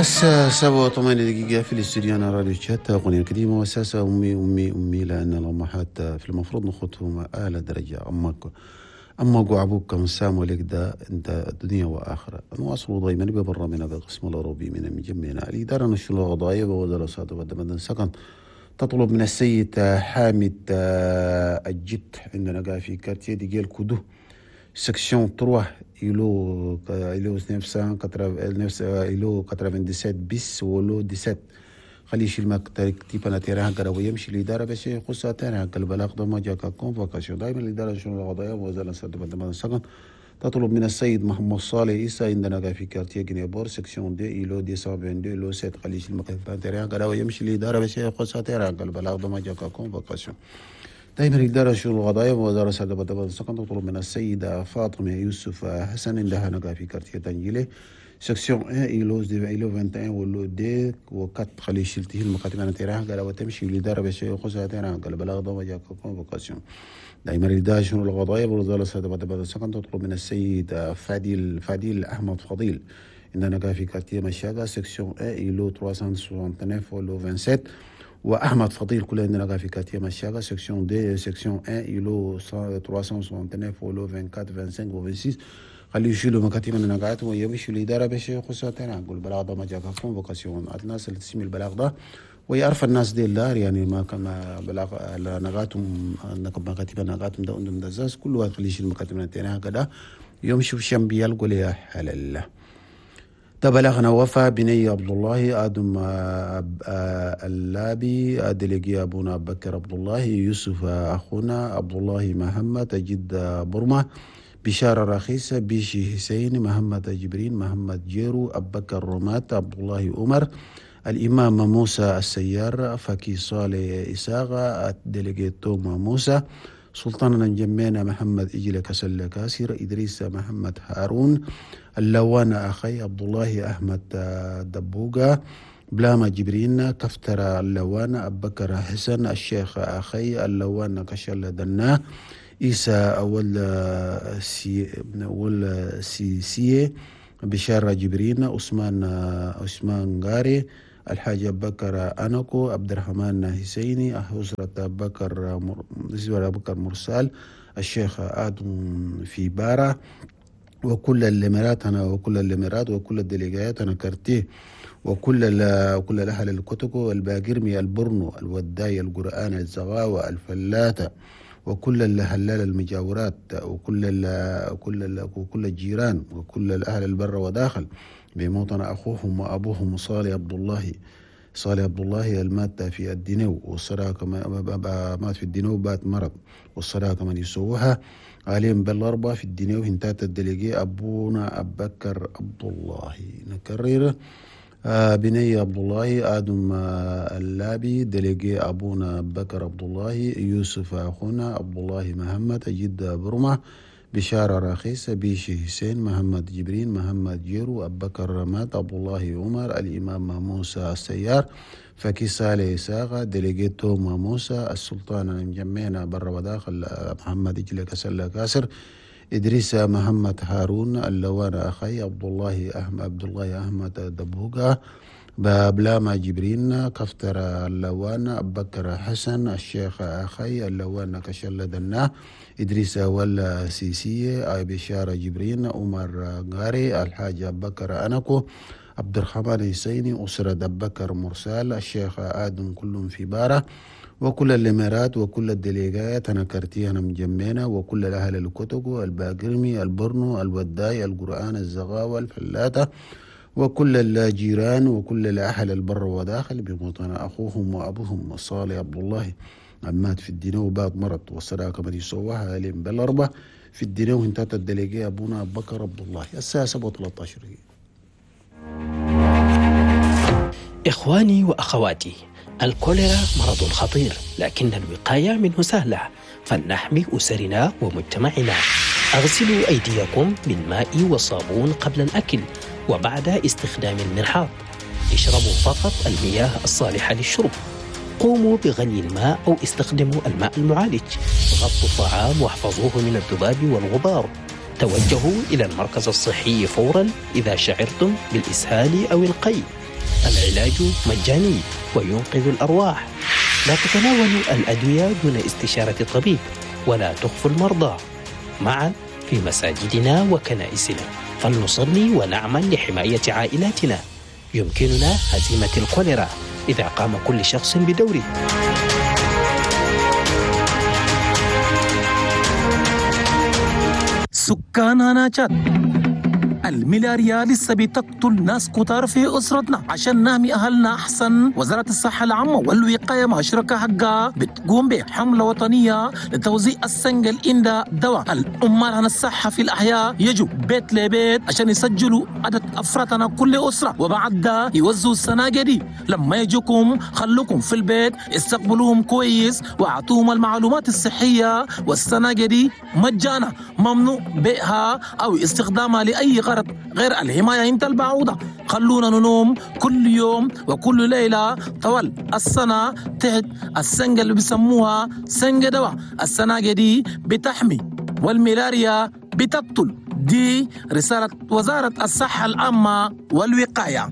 الساعة 7:08 في الاستوديو أنا راديو تشات أغنية القديمة وأساسها أمي أمي أمي، لأن الأمهات في المفروض نخطهم أعلى درجة. أمك أمك وأبوك كم ساموا لك ده أنت دنيا وآخرة. نواصل دائما ببرنامجنا بالقسم الأوروبي من مجمعنا الإدارة الشؤون القضائية ووزارة الصحة سكن تطلب من السيد حامد الجد عندنا قاعد في quartier ديجيل كودو section 3 îlot 900 îlot 97 bis و lot 17، خليه يشيل مكتب انا terrain كده ويمشي الادارة باش يخص terrain البلاغ ده ما جاك convocation. دائما الادارة الشؤون القضائية وزارة الصحة السكن تطلب من السيد محمد صالح عيسى عندنا في quartier جنيبور section deux îlot 222 lot 7، خليه يشيل مكتب terrain كده ويمشي الادارة باش يخص terrain البلاغ ده ما جاك convocation. دائما الإدارة الشؤون القضائية ووزارة الصحة السكن تطلب من السيدة فاطمة يوسف حسن عندها نقا في quartier تنجيلي section 1 îlot 21 و lot 2 و 4، خلي يشيل المكاتب انا terrain قال وتمشي الإدارة باش يخصها terrain قال بلاغ ده جاك convocation. دائما الإدارة الشؤون القضائية ووزارة الصحة السكن تطلب من السيد فاديل أحمد فضيل عندنا في quartier مشاقة section 1 îlot 369 و lot 27، واحمد فضيل كل عندنا في quartier مشاقة section deux section 1 îlot 369 و lot 24 25 و 26، خليه يشيلوا مكاتب النقاط ويمشوا الادارة باش يخصها terrain نقول البلاغ ده ما جاك convocation. الناس اللي تسمي البلاغ ده ويعرف الناس دي الدار يعني ما كما بلاغ نقاتهم مكاتب نقاتهم ده عندهم دزاز كل واحد خليه يشيل مكاتب terrain كده يمشوا في شنبي يلقوا لي حلال. تبلغنا وفا بني عبد الله آدم اللابي délégué أبونا بكر عبد الله يوسف أخونا عبد الله محمد جد برمة بشارة رخيصة بيشي حسين محمد جبرين محمد جيرو أبكر رمات عبد الله عمر الإمام موسى السيار فكي صالح إساغة délégué توما موسى سلطان نجمينا محمد إجل كسل كاسر إدريس محمد هارون اللوان أخي عبد الله أحمد دبوغا بلاما جبرين كفتر اللوان أبكر حسن الشيخ أخي اللوان كشل دنا إيسى أول سي بشارة جبرين عثمان غاري الحاج بكر أنكو عبد الرحمن حسيني أسرة بكر مرسال الشيخ آدم في بارة وكل الإمارات أنا وكل الإمارات وكل الديليجات أنا كارتيه وكل الأهل الكتكو الباقرمي البرنو الوداي القرآن الزغاوة الفلاتة وكل الهلال المجاورات وكل وكل الجيران وكل الأهل البر وداخل بموطن أخوهم وأبوهم صالح عبد الله المات في الدينو والصلاة كما مات في الدينو بات مرض والصلاة كمان يسووها عليهم بالأربعة في الدينو هنتات ال délégué أبونا أبكر عبد الله. نكرر بني عبد الله آدم اللابي délégué أبونا بكر عبد الله يوسف أخونا عبد الله محمد جد برمة بشارة رخيصة بيشي حسين محمد جبرين محمد جيرو أبكر رماد عبد الله عمر الإمام موسى السيار فكي صالح إساغة délégué توما موسى السلطان المجمعنا بر وداخل محمد إجل كسل كاسر إدريس محمد هارون اللوان أخي عبد الله أحمد دبوغا بابلاما جبرين كفتر اللوان أبكر حسن الشيخ أخي اللوان كشل دنا إدريس ولا سيسي بشارة جبرين عمر غاري الحاج أبكر أنكو عبد الرحمن حسيني أسرة أبكر مرسال الشيخ آدم كلهم في بارة وكل الإمارات وكل الديليجات أنا كارتيه مجمعنا وكل الأهل الكتكو الباقرمي البرنو الوداي القرآن الزغاوة الفلاتة وكل الجيران وكل الأهل البر وداخل بموطن أخوهم وأبوهم صالح عبد الله مات في الدينو بعد مرض والصداقة من يسوها لهم بالأربعة في الدينو انتهت ال délégué أبونا بكر عبد الله. الساعة 7:13. إخواني وأخواتي، الكوليرا مرض خطير لكن الوقاية منه سهلة، فلنحمي أسرنا ومجتمعنا. أغسلوا أيديكم بالماء والصابون قبل الأكل وبعد استخدام المرحاض. اشربوا فقط المياه الصالحة للشرب. قوموا بغلي الماء أو استخدموا الماء المعالج. غطوا الطعام واحفظوه من الذباب والغبار. توجهوا إلى المركز الصحي فورا إذا شعرتم بالإسهال أو القيء. العلاج مجاني وينقذ الأرواح. لا تتناولوا الأدوية دون استشارة الطبيب، ولا تخفوا المرضى. معا في مساجدنا وكنائسنا فلنصلي ونعمل لحماية عائلاتنا. يمكننا هزيمة الكوليرا إذا قام كل شخص بدوره. سكان هنا تشاد، الملاريا لسه بتقتل ناس كتار في أسرتنا. عشان نحمي أهلنا أحسن، وزارة الصحة العامة والوقاية مع شركاء حقها بتقوم بحملة وطنية لتوزيع السنجة الإندا دواء. العمال عن الصحة في الأحياء يجوا بيت لبيت عشان يسجلوا عدد أفرادنا كل أسرة، وبعد ده يوزعوا السناجة دي. لما يجوكم خلوكم في البيت، استقبلوهم كويس واعطوهم المعلومات الصحية. والسناجة دي مجانا، ممنوع بيعها أو استخدامها لأي غرض غير الحماية انت البعوضة. خلونا ننوم كل يوم وكل ليلة طوال السنة تحت السنجة اللي بيسموها سنجة دواء. السناجة دي بتحمي والملاريا بتقتل. دي رسالة وزارة الصحة العامة والوقاية.